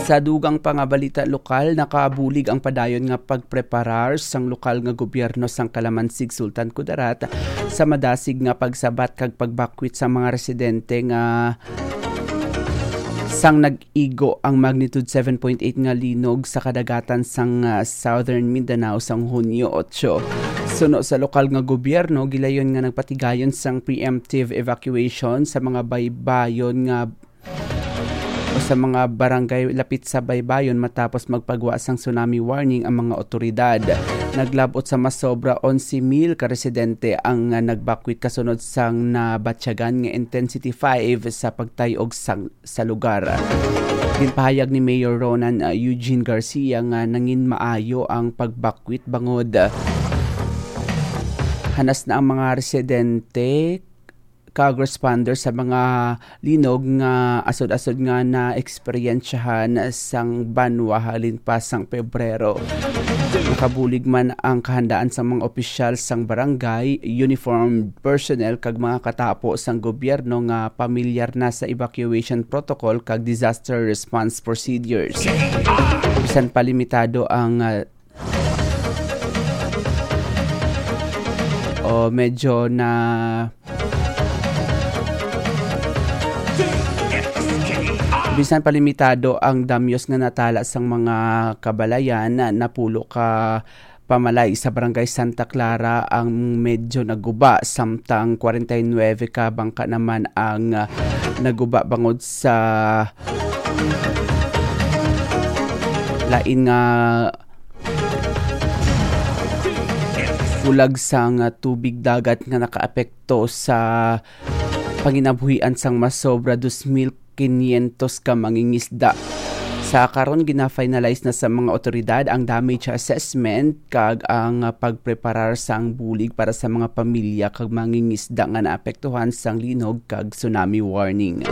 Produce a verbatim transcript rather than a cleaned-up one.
Sa dugang pa nga balita lokal, nakabulig ang padayon nga pagpreparar sang lokal nga gobyerno sang Kalamansig, Sultan Kudarat, sa madasig nga pagsabat kag pagbakwit sa mga residente nga sang nag-igo ang magnitude seven point eight nga linog sa kadagatan sang, ah, Southern Mindanao sang Hunyo otso. Suno sa lokal nga gobyerno, gilayon nga nagpatigayon sang preemptive evacuation sa mga baybayon nga o sa mga barangay lapit sa baybayon matapos magpagwa sang tsunami warning ang mga otoridad. Naglabot sa mas sobra onse mil ka residente ang, ah, nagbakwit kasunod sang nabatyagan nga intensity five sa pagtay-og sang, sa lugar. Ginpahayag ni Mayor Ronan, ah, Eugene Garcia nga nangin maayo ang pagbakwit bangod, ah, hanas na ang mga residente kag responder sa mga linog nga asod-asod nga naeksperyensyahan sang banwa halin pa sang Pebrero. Nakabulig man ang kahandaan sang mga opisyal sang barangay, uniformed personnel kag mga katapo sang gobyerno nga pamilyar na sa evacuation protocol kag disaster response procedures. Bisan pa limitado ang, ah, o medyo na bisan pa limitado ang damyos nga natala sang mga kabalayan, napulo ka pamalay sa Barangay Santa Clara ang medyo naguba, samtang forty-nine ka bangka naman ang, ah, naguba bangod sa lain nga bulag sang tubig dagat nga nakaapekto sa panginabuhian sang mas sobra dos mil quinientos ka mangingisda. Sa karon, gina-finalize na sa mga otoridad ang damage assessment kag ang pagpreparar sang bulig para sa mga pamilya kag mangingisda nga naapektuhan sang linog kag tsunami warning.